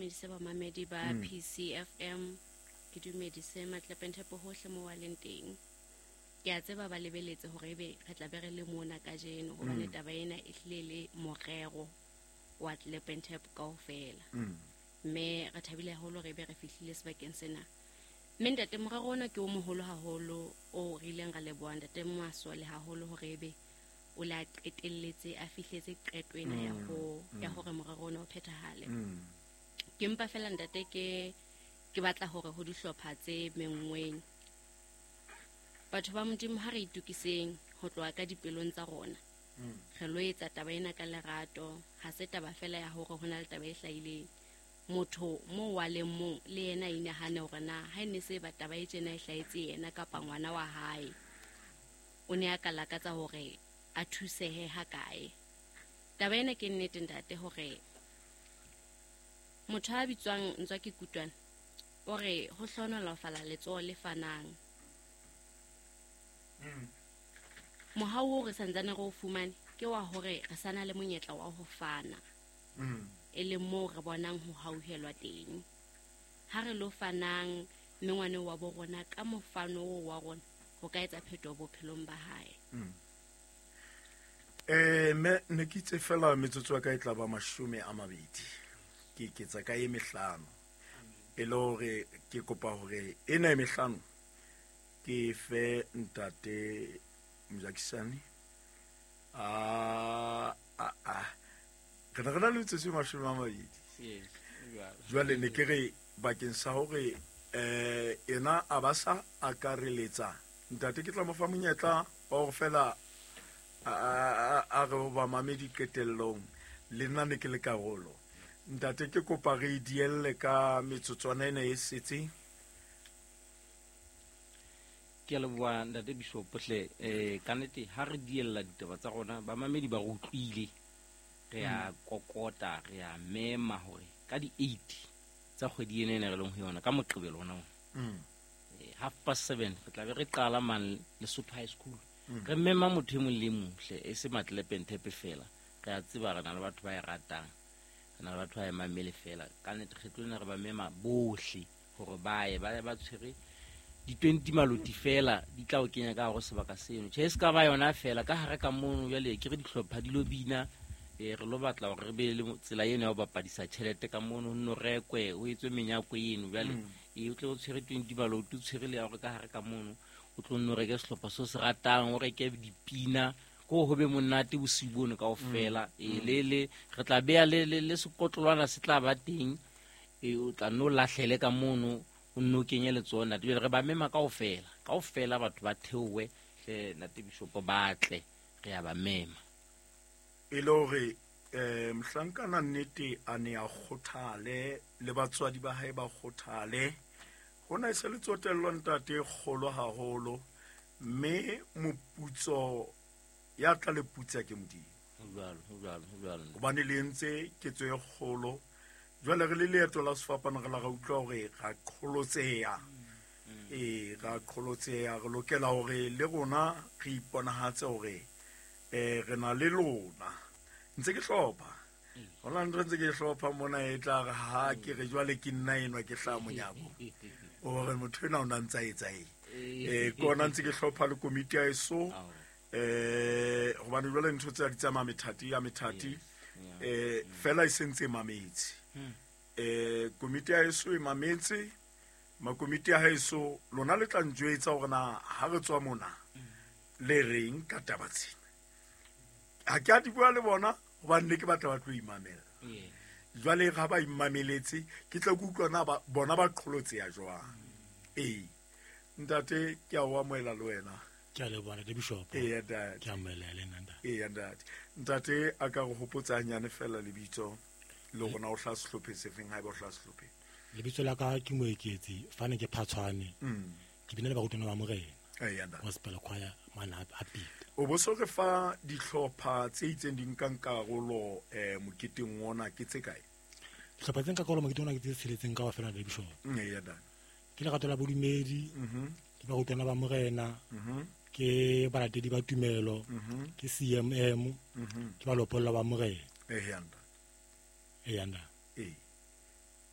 Dumedise bamamedi ba PCFM, ke dumedise Matlepenthepo hohle mo ba leng teng. Ke a tseba ba lebeletse hore ebe re tla be re le mona kajeno, hobane taba ena e hlile le morero wa Tlepenthepo kaofela. Mme re thabile haholo hore ebe re fihlile sebakeng sena. Mme ntate, morero ona ke o moholo haholo o re ileng ra leboha ntate Masole haholo hore ebe o le a qetelletse a fihletse qeto ena ya ho ya hore morero ona o phethahale. Ke mpa fela ntate ke batla hore ho dihlopha tse menngweng, batho ba Modimo, ha re itukiseng ho tloha ka dipelong tsa rona. Re lo etsa taba ena ka lerato, ha se taba fela ya hore ho na le taba e hlahileng. Motho mo wa leng mong le yena a inahane hore na ha e ne se ba taba e tjena e hlahetse yena kapa ngwana wa hae, o ne a ka lakatsa hore a thusehe ha kae. Taba ena ke nnete ntate, hore motho a bitswang Ntswa ke Kutwana o re ho hlohonolofala letsoho le fanang. Mohau o re santsane re o fumane ke wa hore re sana le monyetla wa ho fana, e leng moo re bonang ho hauhelwa teng. Ha re lo fanang, mme ngwane wa bo rona ka mofano oo wa rona ho ka etsa phetoho bophelong ba hae. Me ne ke itse fela metsotso ya ka e tla ba 20, ke eketsa ka e 5, e le hore ke kopa hore ena e 5 ke fe ntate Mojakisane. A a a re ne re na le metsotso e 20. Yes, jwalo. Jwale ne ke re bakeng sa hore ena a ba sa akareletsa ntate, ke tla mo fa monyetla wa hore fela a re ho bamamedi qetellong, le nna ne ke le karolo. Ntate, ke kopa re e dielle ka metsotswana ena e setseng. Ke a leboha ntate Bishop hle. Ka nnete ha re diella ditaba tsa rona, bamamedi ba re utlwile, re a kokota, re a mema hore ka di-8 tsa kgwedi ena ene re leng ho yona, ka Moqebelo ona ona, 7:30 re tla be re qala man Lesotho High School. Re mema motho e mong le e mong hle, e se Matlepenthepe fela. Re a tseba re na le batho ba e ratang, re na le batho ba e mamele fela. Ka nnete kgetlo lena re ba mema bohle hore ba ye, ba ye ba tshwere di-20 maloti fela, di tla o kenya ka hare ho sebaka seno. Tjhe, e se ka ba yona fela, ka hare ka mono jwale ke re dihlopha di lo bina, re lo batla hore re be le tsela eno ya ho bapadisa tjhelete ka mono, ho nno rekwe, ho etswe menyako eno. Jwale, o tle o tshwere 20 maloti, o tshwere le ya hore ka hare ka mono o tlo nno reke sehlopha seo se ratang, o reke dipina, ko ho be monate bosiu bono kaofela. Le re tla beha le sekotlolwana se tla ba teng, o tla nno lahlele ka mono, o nno kenye letsoho ntate. Jwale re ba mema kaofela, kaofela batho ba theohe hle ntate Bishop, ba tle, re a ba mema. E le hore mohlankana nnete a ne a kgothale, le batswadi ba hae ba kgothale. Hona e se le tsotello ntate e kgolo haholo, mme moputso ya tla le putsa ke Modimo. Ho jwalo, ho jwalo, ho jwalo. Hobane le entse ketso e kgolo. Jwale re le leeto la sefapano, re la ra utlwa hore ra qholotseha. Ra qholotseha, re lokela hore le rona re iponahatse hore re na le lona. Ntse ke hlopha. Hona ntho ntse ke hlopha mona e tla re ha ke re jwale ke nna enwa ke hlaha monyako. O re motho enwa o na ntsa etsa eng? Ke ona ntse ke hlopha le komiti ya eso. Hobane jwale ntho tse di tsamaya methati ya methati. Fela e sentse e mametse. Komiti ya eso e mametse. Makomiti ya haeso lona le tla njwetsa hore na ha re tswa mona le reng ka taba tsena. Ha ke a di bua le bona hobane ne ke batla ba tlo imamela. Jwale ha ba imameletse ke tla ke utlwa na bona ba qholotseha jwang. Ntate ke a o amohela le wena. Ke a leboha ntate Bishop. Eya, ntate. Ke amohela le nna, ntate. Eya, ntate. Ntate a ka re hopotsa hanyane fela lebitso le rona o hlaha sehlopheng sefeng haeba o hlaha sehlopheng. Lebitso la ka ke Moeketsi, fane ke Phatshwane. Ke bina le barutwana ba Morena. Eya, ntate. Gospel choir mane a Pita. O bo so re fa dihlopha tse itseng di nkang karolo moketeng ona ke tse kae? Dihlopha tse nkang karolo moketeng ona ke tse tsheletseng kaofela, ntate Bishop. Eya, ntate. Ke lerato la bodumedi, ke barutwana ba Morena, ke balatedi ba tumelo, ke CMM, ke balopolla ba Morena. Eya, ntate. Eya, ntate.